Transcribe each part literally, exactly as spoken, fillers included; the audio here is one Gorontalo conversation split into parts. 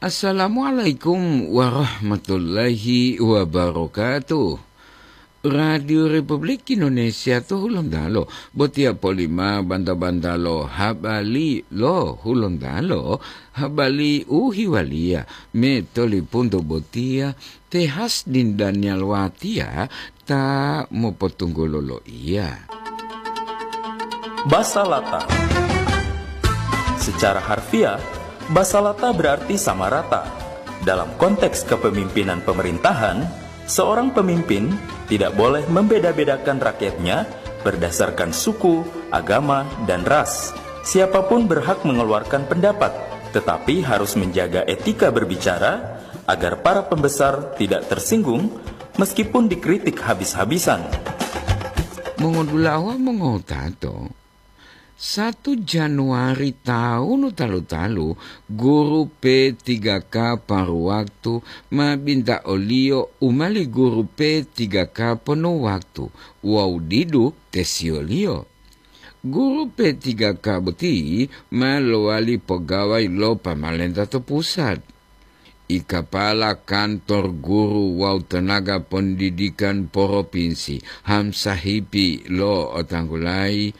Assalamualaikum warahmatullahi wabarakatuh. Radio Republik Indonesia to Hulontalo, botiya polima banta-banta lo habari lo Hulontalo, habari u hiwaliya me tolipunto botiya, Tehas din Daniel Watiya ta mopotunggulo loiya. Basa Lata. Secara harfiah, basa Lata berarti sama rata. Dalam konteks kepemimpinan pemerintahan, seorang pemimpin tidak boleh membeda-bedakan rakyatnya berdasarkan suku, agama, dan ras. Siapapun berhak mengeluarkan pendapat, tetapi harus menjaga etika berbicara agar para pembesar tidak tersinggung meskipun dikritik habis-habisan. Mongodulawa mongotato, satu Januari taunu talu-talu, guru P tiga K paru waktu ma binta oliyo u mali guru P tiga K ponu waktu wawu didu tesiyoliyo. Guru P tiga K boti ma lowali pogawai lo pamalenta to pusat. I kapala kantor guru wawu tenaga pondidikan poropinsi Hamsahipi lo otanggulayi,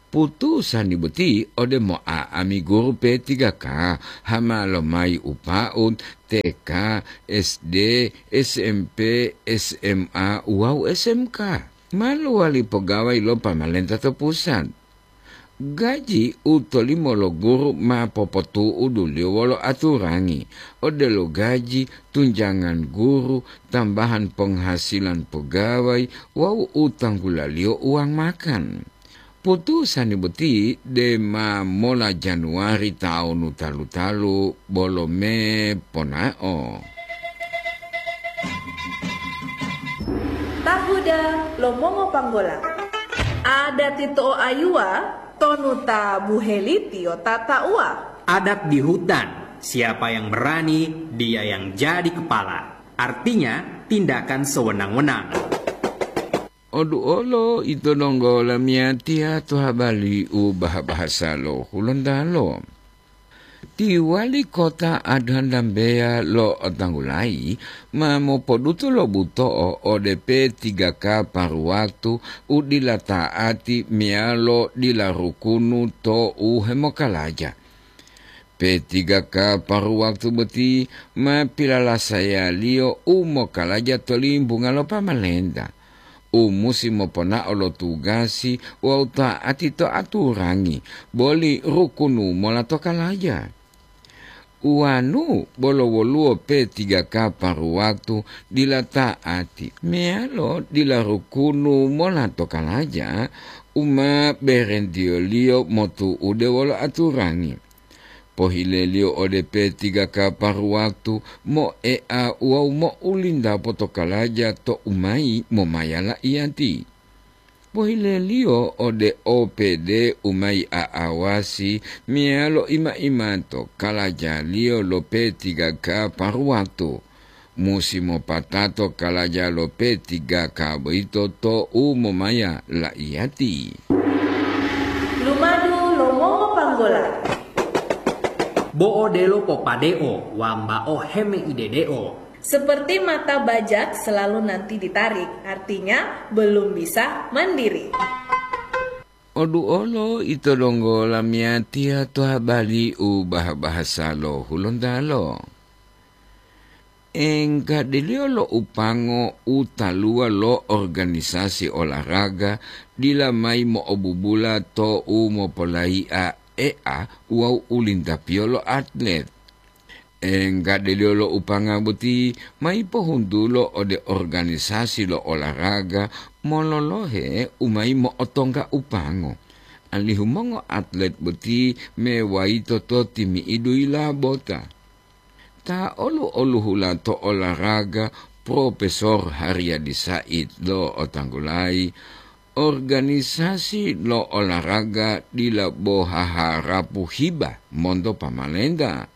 putusani boti ode mo'a'ami guru P tiga K hama lomayi upaut T K, S D, S M P, S M A wawu S M K. Ma lowali pogawai lo pamalenta to pusat. Gaji u tolimo lo guru ma popotu'uduliyo wolo aturangi, odelo gaji, tunjangan guru, tambahan ponghasilan pogawai wawu u tanggulaliyo uwang makan. Putusani boti dema mola Januari taonu talu-talu bolo me ponao. Tahuda lo mongopanggola. Adati to'oayuwa tonu ta buhelitiyo tata'uwa. Adat di hutan, siapa yang berani, dia yang jadi kepala. Artinya, tindakan sewenang-wenang. Oduolo ito donggo lamiyatiya to habari u baha-bahasa lo Hulontalo. Ti wali kota Adhan Dambeya lo Tanggulayi ma mopodutu lo buto'o ode P tiga K paru waktu u dila ta'ati meyalo dila rukunu to u hemokalaja. P tiga K paru waktu boti ma pilalasayaliyo u mokalaja to limbunga lo pamalenta, u musi moponao lo tugasi wawu ta'ati to aturangi boli rukunu mola to kalaja. Uwanu bolo woluwo P tiga K paru waktu dila ta'ati meyalo dila rukunu mola to kalaja u ma berentiyoliyo motu'ude wolo aturangi. Pohileliyo ode P tiga K paru waktu moea wawu mo'ulinta potokalaja to umayi momaya laiyati. Pohileliyo ode O P D umayi a'awasi meyalo ima-imato kalajaliyo lo P tiga K paru waktu. Musi mopatato kalaja lo P tiga K boyito to u momaya laiyati. Lumadu lo mongopanggola. Bo'o delo popadeo, wambao hemeidedeo. Seperti mata bajak selalu nanti ditarik, artinya belum bisa mandiri. Oduolo ito donggo lamiyatiya to habari u baha-bahasa lo Hulontalo. Enggadeliyo lo upango u taluwa lo organisasi olahraga dila mayi mo'obubula to u mopolayi'a e'a wawu ulintapiyo lo atlet. Enggadeliyo lo upanga boti mayi pohuntulo ode organisasi lo olahraga mololohe u mayi mo'otongga upango, alihu mongoatlet boti mewayito to timi'idu yilabota. Ta olu-oluhula to olahraga Profesor Haryadi Said lo'otanggulayi, organisasi lo olahraga dila bo haharapu hiba monto pamalenta.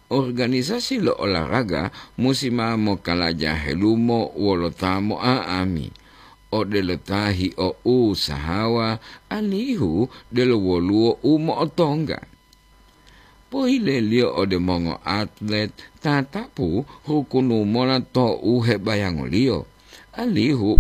Organisasi lo olahraga musi ma mokalaja helumo wolo ta mo'a'ami, odelo ta hio'usahawa alihu delo woluwo u mo'otongga. Poileliyo ode mongoatlet tatapu hukunu mola to u hebayangoliyo, alihu